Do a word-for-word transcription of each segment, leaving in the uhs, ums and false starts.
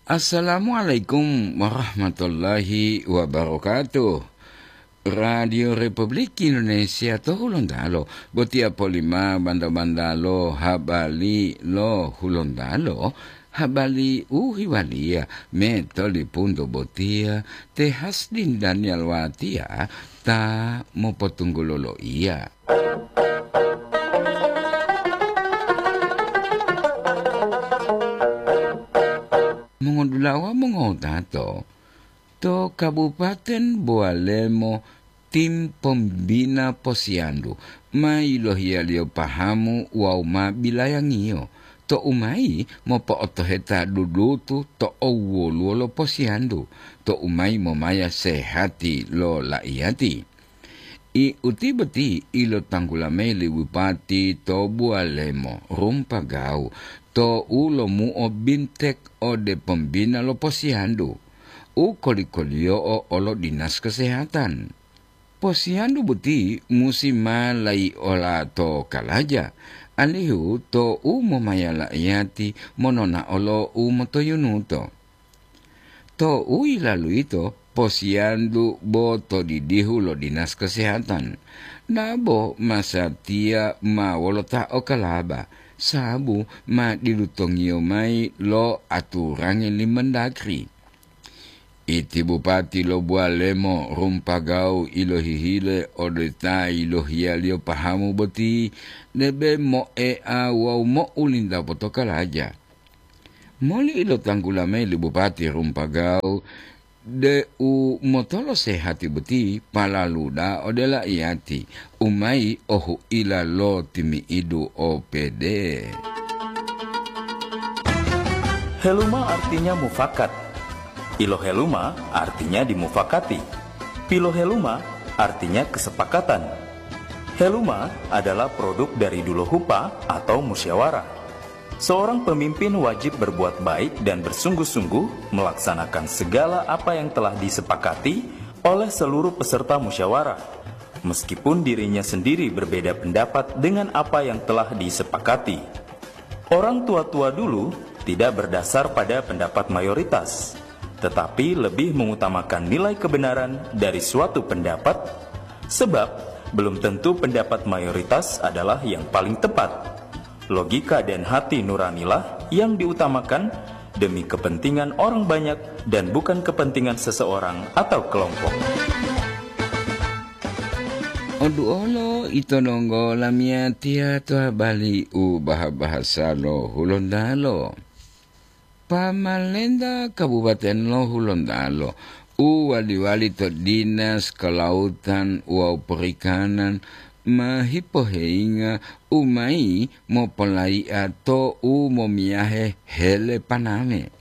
Assalamualaikum warahmatullahi wabarakatuh. Radio Republik Indonesia to Hulontalo, botiya polima banda-bandalo habari lo Hulontalo, habari u hiwaliya me tolipunto botiya te Hasdin Daniel Watiya ta mopotunggulo loiya. Mongodulawa mongotato, to Kabupaten Bowalemo tim pombina posiyandu ma yilohiyaliyo pahamu wawu ma bilayangiyo, to'u mayi mopo'otoheta dudutu to owwoluwo lo posiyandu, to'u mayi momaya sehati lo la'iyati. I uti boti ilotanggula mayi li bupati to Buwalemo Rumpagawu tou lomuo bintek ode pombina lo posiyandu u koli-koliyo'o olo dinas kesehatan. Posiyandu boti musi ma laiola to kalaja, alihu tou momaya la'iyati mononao lo u motoyunuto. Tou yilalu yito, posiyandu bo to didihu lo dinas kesehatan, dabo masatiya ma wolo ta okalaba, sabu ma dilutongiyo mayi lo aturangi li Mendagri. Iti bupati lo Buwalemo Rumpagawu ilohihile ode ta yilohiyaliyo pahamu boti, debe moea wawu mo'ulinta potokalaja. Moli ilotanggula mayi li Bupati Rumpagawu deu motolo sehati boti palalu da'a ode la'iyati u mayi ohu'ila lo timi'idu O P D. Heluma artinya mufakat. Iloheluma artinya dimufakati. Piloheluma artinya kesepakatan. Heluma adalah produk dari duluhupa atau musyawarah. Seorang pemimpin wajib berbuat baik dan bersungguh-sungguh melaksanakan segala apa yang telah disepakati oleh seluruh peserta musyawarah, meskipun dirinya sendiri berbeda pendapat dengan apa yang telah disepakati. Orang tua-tua dulu tidak berdasar pada pendapat mayoritas, tetapi lebih mengutamakan nilai kebenaran dari suatu pendapat, sebab belum tentu pendapat mayoritas adalah yang paling tepat. Logika dan hati nuranilah yang diutamakan demi kepentingan orang banyak dan bukan kepentingan seseorang atau kelompok. Oduolo ito donggo lamiyatiya to habari u baha-bahasa lo Hulontalo. Pamalenta Kabupaten lo Hulontalo u wali-wali to Dinas Kelautan wawu Perikanan ma hipoheyinga u mayi mopolayi'a to u momiyahe hele paname,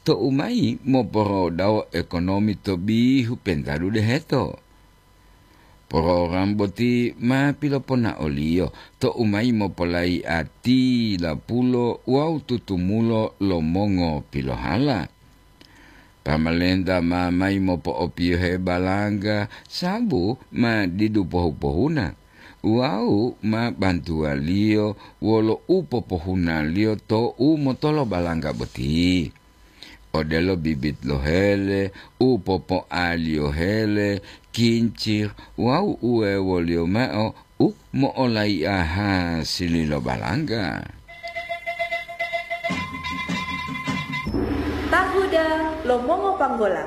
to u mayi moporodawo ekonomi to bihu pentadu deheto. Program boti ma piloponaoliyo to u mayi mopolayi'a tilapulo wawu tutumulo lo mongopilohala. Pamalenta ma mayi mopo'opiyohe balangga sabu ma didu pohu-pohuna wawu ma bantuwaliyo wolo u popohunaliyo to u motolo balangga boti. Odelo bibit lo hele, u popoaliyo hele, kincir, wawu uwewoliyo mao u mo'olayi'a hasili lo balangga. Tahuda lo mongopanggola.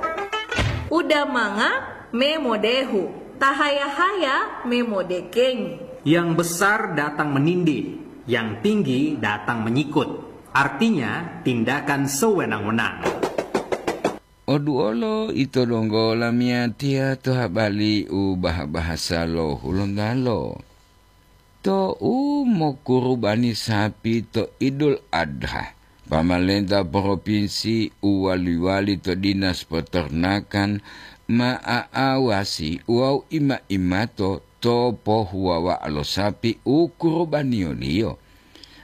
Uda manga me modehu, tahaya-haya me modekengi. Yang besar datang menindih, yang tinggi datang menyikut. Artinya, tindakan sewenang-wenang. Oduolo ito donggo lamiyatiya to habari u baha-bahasa lo Hulontalo. To u mokurubani sapi to Idul Adha, pamalenta propinsi u wali-wali to Dinas Peternakan ma aawasi wawu ima-imato to pohuwawa'a lo sapi u kurubaniyoliyo,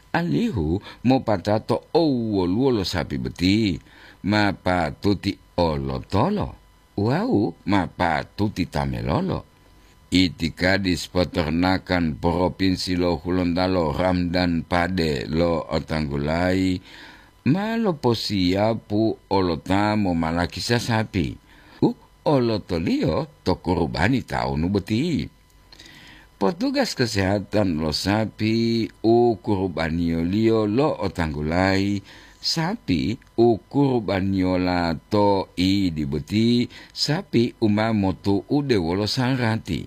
alihu mopatato owwoluwo lo sapi boti ma patuti olotolo wawu ma patuti tamelolo. Itikadis Peternakan Propinsi lo Hulontalo Ramdan Pade lo'otanggulayi ma loposiyapu olota momalakisa sapi u olotoliyo to kurubani tawunu boti. Potugas kesehatan lo sapi u kurubaniyoliyo lo'otanggulayi, sapi u kurubaniyola to idi boti, sapi u ma motu'ude wolo sarati.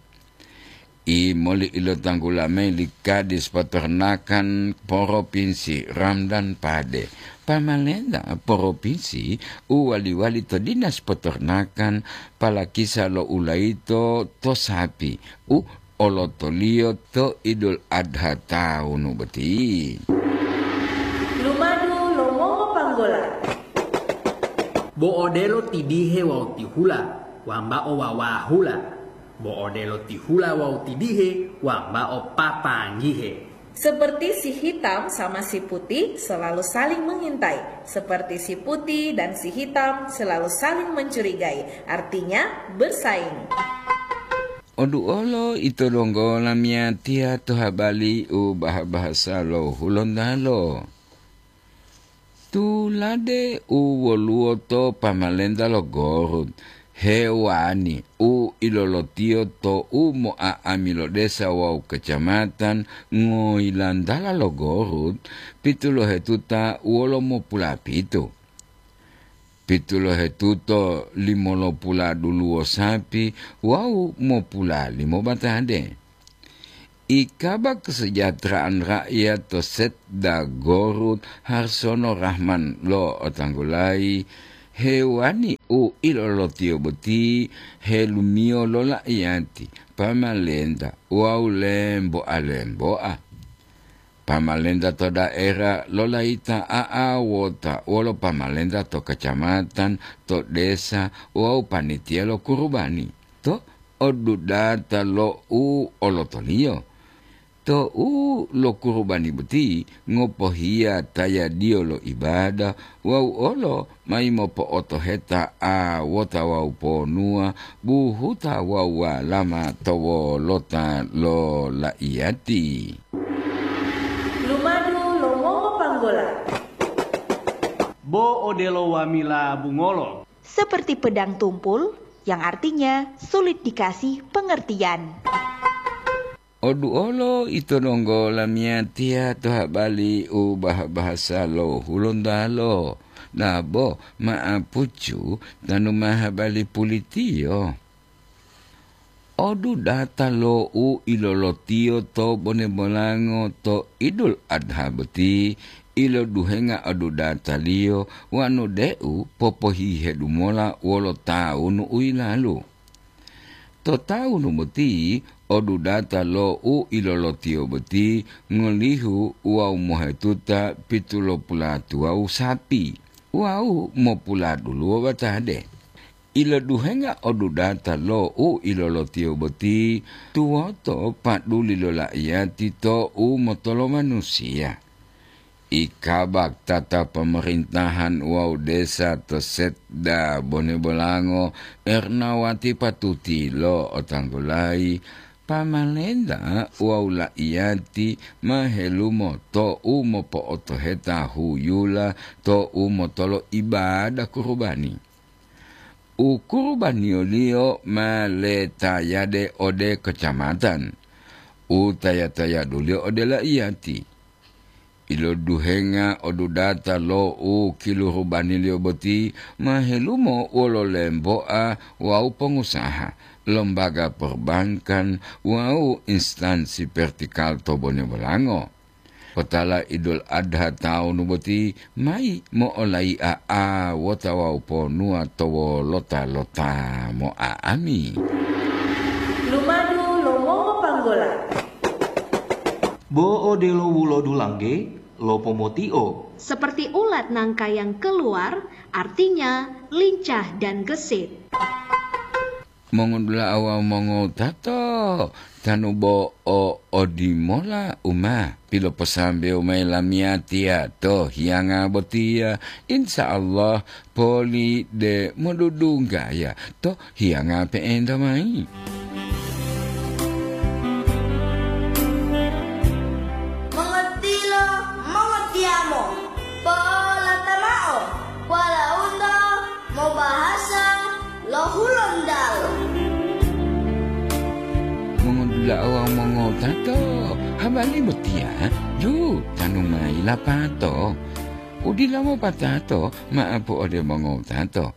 Imoli ilotanggula mayi li Kadis Peternakan Propinsi Ramdan Pade, pamalenta propinsi u wali-wali to Dinas Peternakan palakisa lo ulayito to sapi u olotoliyo to Idul Adha tawunu boti. Lumadu lo mongopanggola. Bo odelo tidihe wawu tihula, wambao wawahula. Bo odelo tihula wawu tidihe, wambao papanggihe. Seperti si hitam sama si putih selalu saling mengintai, seperti si putih dan si hitam selalu saling mencurigai, artinya bersaing. Oduolo ito donggo lamiyatiya to habali u baha-bahasa lo Hulontalo. Tulade u woluwo to pamalenta lo Gorut, hewani u ilolotiyo to u mo'a'ami lo desa wawu kacamatan ngoyilantala lo Gorut, pitulohetuta wolo mopulapitu. Pitulohetuto limolopula duluwo sapi wawu mopula limo batade. Ikaba kesejahteraan rakyat to Setda Gorut Harsono Rahman lo'otanggulayi, hewani u ilolotiyo boti helumiyo lo la'iyati, pamalenta wawu lemboa-lemboa. Pamalenta to daera lolayita a'awota wolo pamalenta to kacamatan, to desa wawu panitia lo kurubani to odudata lo u olotoliyo. To u lo kurubani boti ngopohiya tayadiyo lo ibada wawu olo mayi mopo'otoheta awota wawu ponuwa buhuta wawu walama to wolota lo laiyati. Lumadu lo mongopanggola. Bo odelo wamila bungolo. Seperti pedang tumpul, yang artinya sulit dikasih pengertian. Oduolo ito donggo lamiyatiya to habali u baha-bahasa lo Hulontalo, nabo ma'apucu tanu ma habali pulitiyo. Odudata lo u ilolotiyo to bone bolango to Idul Adha boti, iloduhenga odudataliyo wanu deu popohihedu mola wolo tawunu u yilalu. To tawunu boti, odudata lo u ilolotiyo boti ngolihu wawu mohetuta pitulopulatuwawu sapi wawu mopuladuluwo batade. Iloduhenga odudata lo u ilolotiyo boti tuwoto paduli lo laiyati to u motolo manusiya. Ikabak tata pemerintahan wawu desa to Setda Bone Bolango, Ernawati Patuti lo'otanggulayi, pamalenta wawu laiyati ma helumo to u mopo'otoheta huyula to u motolo ibada kurubani. U kurubaniyoliyo ma letayade ode kacamatan, u taya-tayaduliyo ode laiyati. Iloduhenga odudata lo u kilurubaniliyo boti ma helumo wolo lemboa wawu pongusaha, lombaga perbankan wawu instansi vertikal to Bone Bolango. Potala Idul Adha tawunu boti mayi mo'olai'a awota wawu ponuwa to wolota-lota mo'a'ami. Lumadu lo mongopanggola. Bo odelo wulodulangge lo pomotio. Seperti ulat nangka yang keluar, artinya lincah dan gesit. Mongodula'a wawu mongowutato, tanu bo o odimola u ma piloposambewo mayi lamiyatiya to hiyanga botiya, insya Allah poli de modudunggaya to hiyanga pe'enta mayi. Mongotilo, mongotiyamo, pola Bali botiya, ju, tanu mayi lapato. Udila mopatato, maapu ode mongowutato.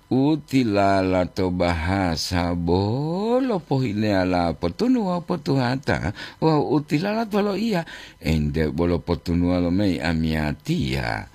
Utilala to bahasa bolo pohileyala potunu wawu potuhata, wawu utilala to loiya, ente bolo potunuwa lo mayi amiyatiya.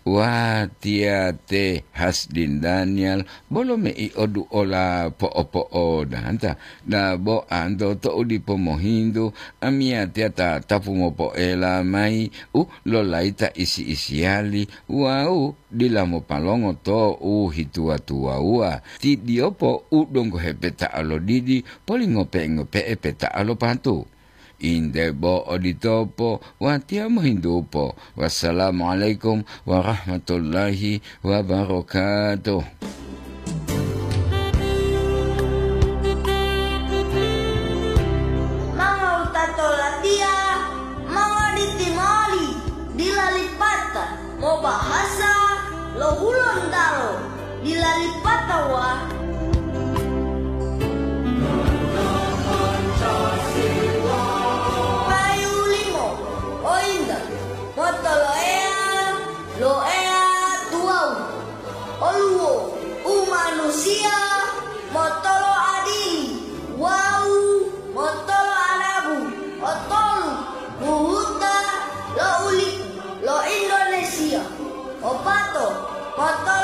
Watiya te Hasdin Daniel bolo mei oduola po'opo'odanta, dabo anto to'u dipo mohintu, amiyatiya ta tapu mopoela mayi u lolayi ta isi-isiyali wawu dila mopalongo to u hituwa-tuwawuwa, ti diyopo u donggo hepeta'a lo didi polingope-ngope'e peta'a lo patu. Inde bo oditopo, watiya mohintupo. Wassalamualaikum warahmatullahi wabarakatuh. Mangowutato latiya, mongoditi moli, dila lipata, mobahasa lo Hulontalo, dila lipata wa. Payu limo, ointa, motoloeya, lo Eya tuwawu. Oluwo umanusiya motolo adili wawu motolo adabu, otolu buhuta lo ulipu lo Indonesia, opato motolo